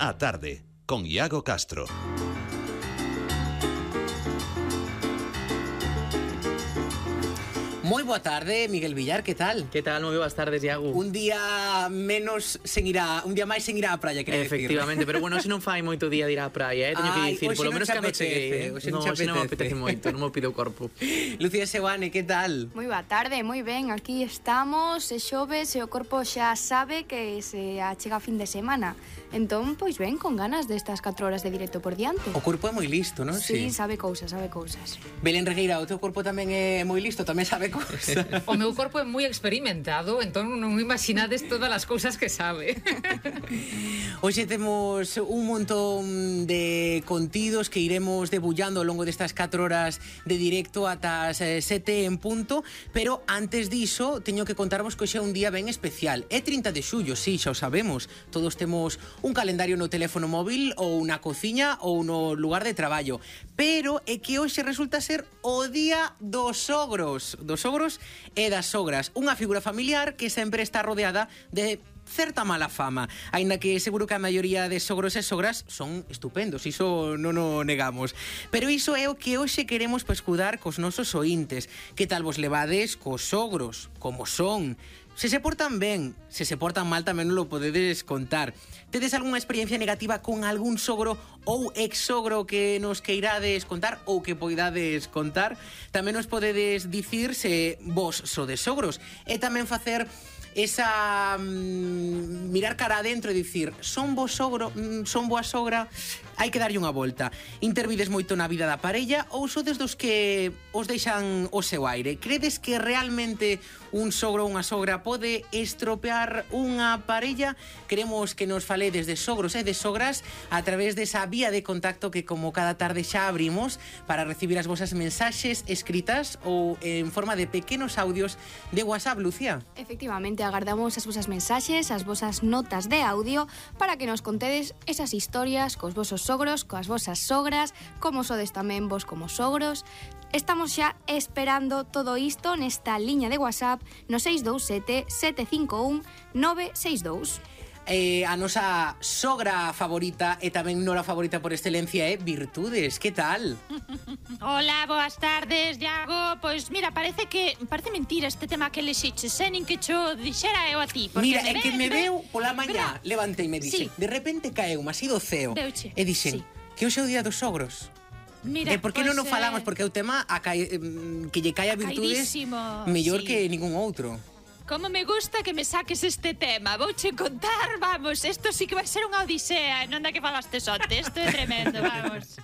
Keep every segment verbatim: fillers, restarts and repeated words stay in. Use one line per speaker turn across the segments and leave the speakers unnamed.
Á tarde, con Iago Castro.
Moi boa tarde, Miguel Villar, que tal?
Que tal? Moi boas tardes, Iago.
Un día menos sen ir a, un día máis sen ir á praia, quero decir.
Efectivamente, pero bueno, se non fai moito día de ir á praia, eh? Teño que dicir, polo menos cando cheguei, eh?
Hoxe
non,
non
me apetece moito, non me pide o corpo.
Lucía Seoane, que tal?
Moi boa tarde, moi ben, aquí estamos, é xoves e o corpo xa sabe que se achega a fin de semana. Entón, pois ben, con ganas destas catro horas de directo por diante.
O corpo é moi listo, non?
Sí, sí, sabe cousas, sabe cousas.
Belén Regueira, o teu corpo tamén é moi listo, tamén sabe cousas.
O meu corpo é moi experimentado, entón non imaginades todas as cousas que sabe.
Hoxe temos un montón de contidos que iremos debullando ao longo destas catro horas de directo ata as sete en punto, pero antes diso teño que contarvos que hoxe é un día ben especial. É trinta de xullo, sí, xa o sabemos. Todos temos un calendario no teléfono móvil ou na cociña ou no lugar de traballo, pero é que hoxe resulta ser o día dos sogros, dos sogros e das sogras, unha figura familiar que sempre está rodeada de certa mala fama, aínda que seguro que a maioría de sogros e sogras son estupendos, iso non o negamos. Pero iso é o que hoxe queremos pescudar cos nosos ointes. Que tal vos levades cos sogros? Como son? Se se portan ben, se se portan mal tamén non lo podedes contar. Tedes algunha experiencia negativa con algún sogro ou ex-sogro que nos queirades contar ou que poidades contar? Tamén nos podedes dicir se vos sodes sogros e tamén facer esa mm, mirar cara adentro e dicir son vos sogro, mm, son boa sogra, hai que darlle unha volta. Intervides moito na vida da parella ou sodes dos que os deixan o seu aire? Credes que realmente un sogro ou unha sogra pode estropear unha parella? Queremos que nos faledes de sogros e de sogras a través desa vía de contacto que como cada tarde xa abrimos para recibir as vosas mensaxes escritas ou en forma de pequenos audios de WhatsApp, Lucía.
Efectivamente, agardamos as vosas mensaxes, as vosas notas de audio para que nos contedes esas historias cos vosos sogros, coas vosas sogras, como sodes tamén vos como sogros. Estamos xa esperando todo isto nesta liña de WhatsApp no seis dous sete, sete cinco un, nove seis dous.
Eh, a nosa sogra favorita e tamén nora favorita por excelencia é Virtudes, que tal?
Hola, boas tardes, Iago. Pois mira, parece que parece mentira este tema que lexiches, eh, nin que cho dixera eu a ti.
Mira, é que me veu pola mañá, levantei e me dixe,
Sí.
de repente caeu así do ceo
Veuche.
e dixen,
Sí.
que hoxe é o día dos sogros.
Mira,
E por que
pois,
non o falamos?
eh,
Porque é o tema a cae, que lle cae a Virtudes
Acaidísimo,
mellor
sí.
que ningún outro.
Como me gusta que me saques este tema. Vouche contar, vamos, isto sí que vai ser unha odisea, non da que falaste onte, isto é tremendo, vamos.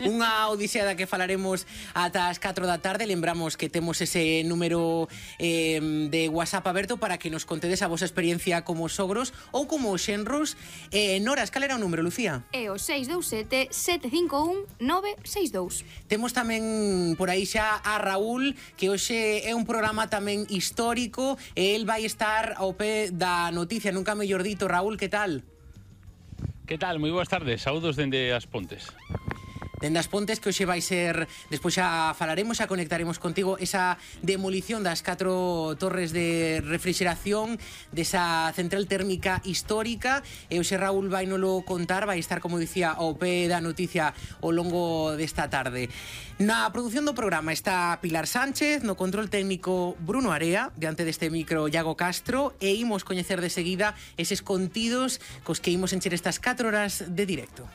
Unha odisea da que falaremos ata as catro da tarde. Lembramos que temos ese número eh, de WhatsApp aberto para que nos contedes a vosa experiencia como sogros ou como xenros. eh, Noras, cal era o número, Lucía?
E o seis dous sete, sete cinco un, nove seis dous.
Temos tamén por aí xa a Raúl, que hoxe é un programa tamén histórico. El vai estar ao pé da noticia, nunca mellor dito. Raúl, que tal?
Que tal? Moi boas tardes, saúdos dende as Pontes.
Dende as Pontes, que hoxe vai ser, despois xa falaremos, xa conectaremos contigo, esa demolición das catro torres de refrigeración desa central térmica histórica. E hoxe Raúl vai nolo contar, vai estar, como dicía, ao pé da noticia ao longo desta tarde. Na produción do programa está Pilar Sánchez, no control técnico Bruno Area, diante deste micro Iago Castro, e imos coñecer de seguida eses contidos cos que imos encher estas catro horas de directo.